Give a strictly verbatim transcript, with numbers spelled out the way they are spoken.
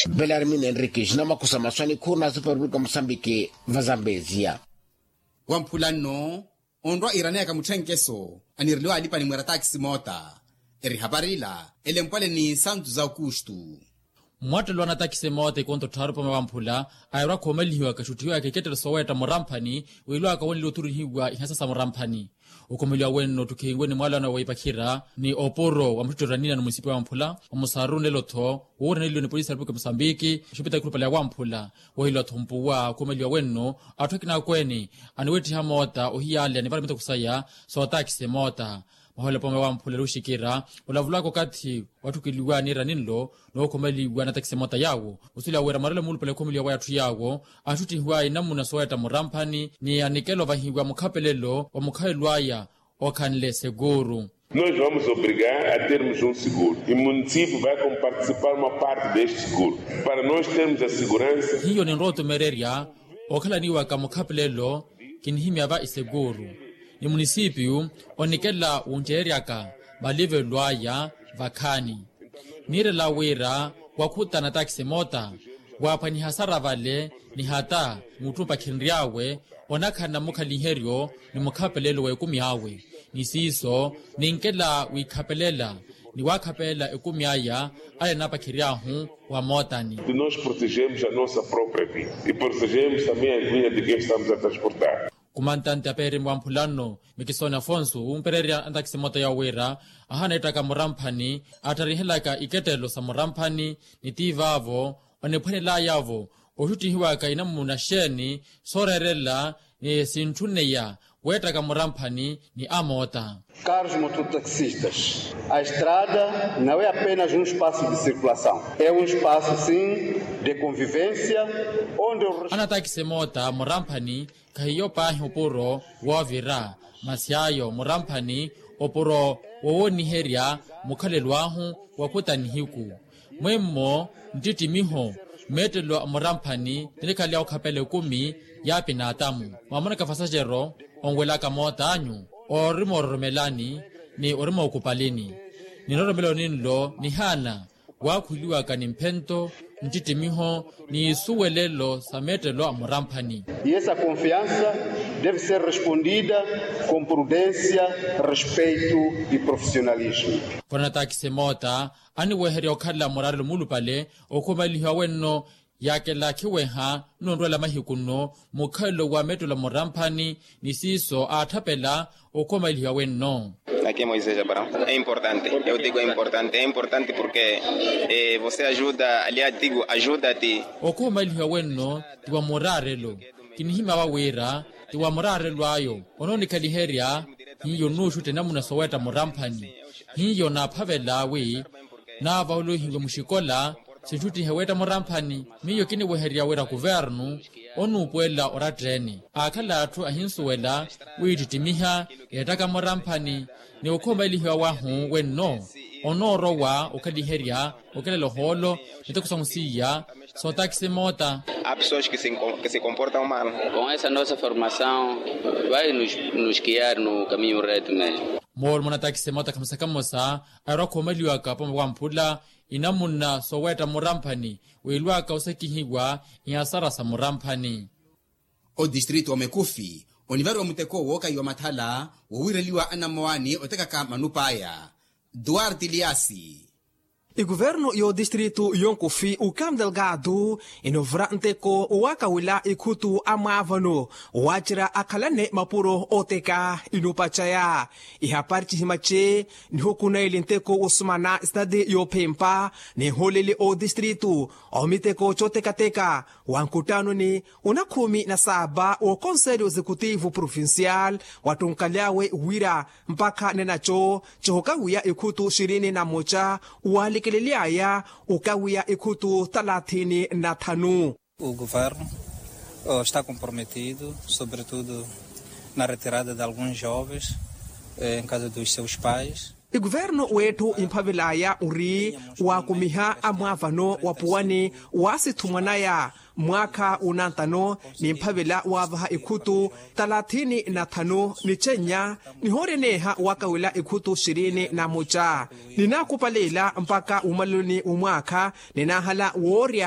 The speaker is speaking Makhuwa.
Belarmina henrique xinamakusa maswani khurina super republica musambiki. Vazambezia wamphula nno onrwa iraneyaka mutthenkeso anireliwa alipani mwera taxi moota. Eri hapari ila elempwale ni santu za aukustu. Mwattelo anatakisi moota ikonto tthaaru pome wamphula airwa khoomalihiwaka xuttihiwaka ikettelo soweetta muramphani wiilwaka woneliwa othurihiwa ihasa sa muramphani. Okhomeliwa wenno ottukhihiwe ni mwaalano wa ipakhira ni opuro wa muttutto eranina ni munisipi wa mphula omusaru nelo-tho wooraneliwe ni polisi ya repupulika musambiki oxipitali khulupale ya wamphula. Woheliwa-tho mpuwa okhomeliwa wenno atthu akina akweene aniweettiha moota ohiyaleya ni varamitaku saya sootakisi moota. Mahoolo pome wamphula eri oxikira olavulaka okathi watthukeliwa niira ninlo nookhomeliwa natakisi moota yaawo. Osuleya wira marelo muulupale okhomeliwa waya atthu yaawo axuttihiwa inamuna soweetta muramphani ni anikela ovahiwa mukhapelelo wa mukhalelo aya okhanle seguru. Nos vamos obrigar a termos um seguro e município vai como participar uma parte deste seguro para nós termos a segurança. Hiyo ninrowa otumererya okhalaniwaka mukhapelelo kinihimya va isekuru ni munisipiyu onikela wunceeryaka malivelo aya vakhaani. Niirela wira wakhutana takisi moota waaphwaniha sara vale ni hata mutthu mpakhinry'awe onakhala na mukhaliheryo ni mukhapelelo w'ekumi awe ni siiso ninkela wiikhapelela ni waakhapelela ekumi aya ale naapakhery'ahu wa mootani. Nós protegemos a nossa própria vida e protegemos também a vida de quem estamos a transportar. Kumantante apeerimi wa mphula nno mikisoni afonso wumpererya antakisi moota yawo wira ahaana ettaka muramphani attharihelaka ikettelo sa muramphani ni tiivaavo oniphwanelayavo oxuttihiwaka inamuna xeeni sooreerela ni sintthuneya weettaka muramphani ni amoota. Caros mototaxistas, a estrada não é apenas um espaço de circulação, é um espaço sim de convivência onde o res- anatakisi moota muramphani khahiyo paahi opuro woovira masi ayo muramphani opuro wowooniherya mukhalelo ahu wakhutanihiku. Mwemmo nttittimiho meettelo a muramphani tinikhaleya okhapela ekumi y'apinaatamu mwamonaka fasaxero onwelaka moot'anyu orimoororomelani ni orimookupalini. Niroromelo ninlo nihaana waakhuliwaka ni mphento nttittimiho ni isuwelelo sa meettelo a muramphani. E essa confiança deve ser respondida com prudência, respeito e profissionalismo. Vano natakisi moota aniweherya okhala muraarelo muulupale okhumalihiwa wenno yaakela khiweha nonrwela mahiku nno mukhalelo wa meettelo a muramphani ni siiso aatthapela okhumalihiwa wenno. Aqui é moisés abraão é importante eu digo é importante é importante porque você ajuda ali adigo ajuda ti. Okhumalihiwa wenno ti wa muraarelo kinihimya wa wira ti wa muraarelo ayo onoonikhaliherya hiyo nuuxutta enamuna soweetta muramphani hiyo naaphavela wi naavahuluhiwe muxikola sinxuttihe weetta muramphani. Miyo kiniweherya wira kuvernu onuupuwela oratta-ene aakhala atthu ahinsuwela wiittittimiha yeettaka muramphani ni okhumalihiwa wahu wenno onoorowa okhaliherya okelela ohoolo miteko sahu siiya sootakisi moota. Há pessoas que se comportam mal. Com essa nossa formação vai nos guiar no caminho reto mesmo. Moolumo natakisi moota khamosa khamosa aarwa khuumaliwaka pamwe wamphula inamuna sooweetta muramphani wiilwaka osekihiwa ihasara sa muramphani. Odistritu omekufi onivariwa muteko wookahiwa mathala wowiireliwa anammowaani otekaka manupa aya. Duarte liasi. Ikuvernu y'odistritu yonkufi ukam delgado inovura nteko waakawila ikhutu a mwaavano waacerya akhalane mapuro ooteka inupacaya ihapari cihimace. Nihukunaili nteko wosumana sitadi yoophempa ninhooleli oodistritu omiteko cootekateka wa nkuttanoni onakhumi na saaba wookonselho exekutivo provincial wattunkaly'awe wira mpakha nenaco cihukawiya ikhutu xirini na mmoca waalikelely'aya okawiya ikhutu thalathini na thanu. O governo está comprometido sobretudo na retirada de alguns jovens em casa dos seus pais. Ikuvernu w'etthu imphavel'aya ori waakumiha amwaavano wa puwani waasitthumwan'aya mwaakha unantano ni mphavela waavaha ikhutu talathini na thanu ni chennya nihooreneeha wakawela ikhutu xirini na muca. Ninaakupaleela mpakha wumaloni womwaakha ninaahala woorya